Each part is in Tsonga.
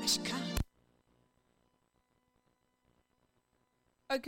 Okay,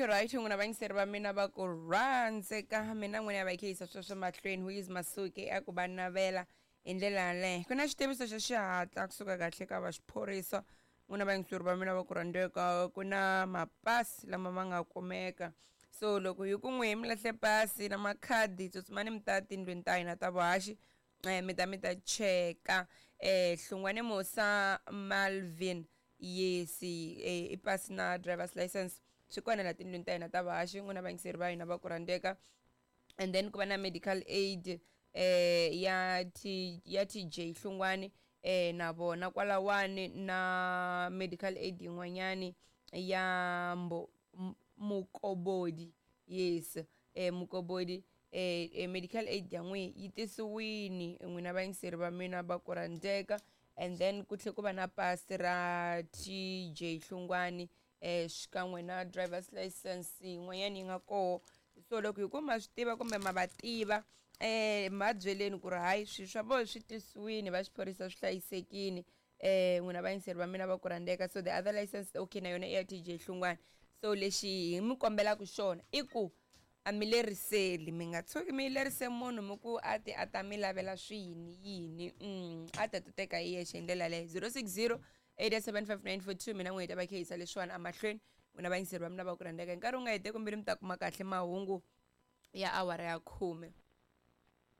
right, n'wina vayingiseri va mina va ku rhandzeka, mina n'wina ya va yisa sweswo mahlweni. Who is Masuke a ku va navela hi ndlela yaleyo. Ku na xitiviso xa xihatla kusuka kahle ka va xiphorisa. N'wina vayingiseri va mina va ku rhandzeka, ku na mapasi lama ma nga kumeka. So loko hi ku n'wi mi lahle pasi na makhadi, tsutsumani mi ta tindlwini ta hina ta vuhaxi, mi ta cheka. Hlungwane Musa Malvin, yes, i pasi na driver's license swi kona la tindlwini ta hina ta vuhaxi, n'wina vayingiseri va hina va ku rhandzeka. And then ku va na medical aid ya TJ Hlungwani, na vona kwalawani, na medical aid yin'wanyani ya mbo Mukobodi, yes, Mukobodi, medical aid ya n'wi yi tisiwini, n'wina vayingiseri va mina va ku rhandzeka. And then ku tlhe ku va na pasi ra TJ Hlungwani, xikan'we na driver's license yin'wanyana yi nga koho. So loko hi ku ma swi tiva kumbe ma va tiva, ma byeleni ku ri hayi, swilo swa vona swi tisiwini va xiphorisa, swi hlayisekini, n'wina vayingiseri va mina va ku rhandzeka. So the other license, okay, na yona i ya TJ Hlungwani. So lexi hi mi kombelaka xona i ku a mi leriseli, mi nga tshuki mi lerise munhu mi ku a ti a ta mi lavela swiyini yini, a ta ti teka hi yexe hi ndlela yaleyo. 060 875 942, mina n'we hi ta va khe yisa leswiwani emahlweni, n'wina vayingiseri va mina va ku rhandzeka. Hi nkarhi wu nga hete kumbeni mi ta kuma kahle mahungu ya awara ya 10.